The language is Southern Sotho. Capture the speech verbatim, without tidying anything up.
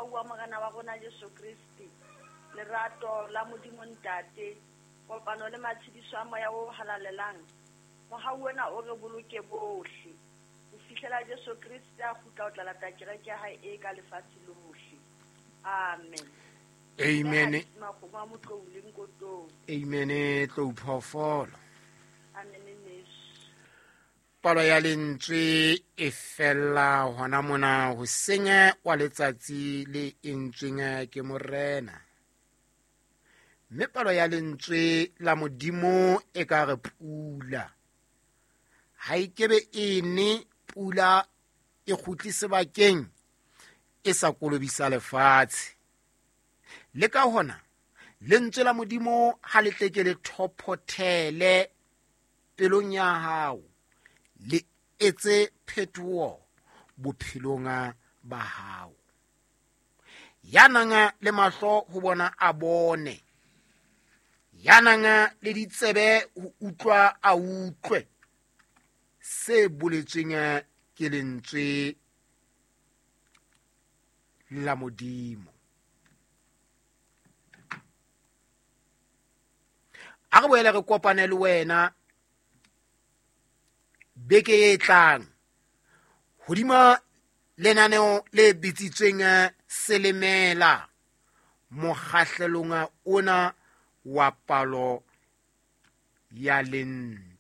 Mohau wa Morena wa rona Jesu Kriste, lerato la Modimo Ntate, kopano le matshediso a Moya o Halalelang, mohau ona o re boloke bohle ho fihlela Jesu Kriste a kgutla ho tla lata kereke ya hae e ka lefatshe lohle. Amen. Amen. Makgomo a Motlou le Nkotong. Amen. Tlou phoofolo. Amen neso. Palo ya lentswe e fella hona mona hoseng wa letsatsi le entsweng ke Morena. Mme palo ya lentswe la Modimo e ka re pula. Ha e kebe e ne pula e kgutle sebakeng e sa kolobisa lefatshe. Le ka hona lentswe la Modimo ha le tle ke le thophothele pelong ya hao, le etse phetoho bophelong ba hao. Ya nang le mahlo ho bona a bone, ya nang le ditsebe ho utlwa a utlwe se boletsweng ke lentswe la Modimo. A re boele re kopane le wena beke e tlang hodima lenaneo le bitsitsweng Selemela, mokgahlelong ona wa palo ya lentswe.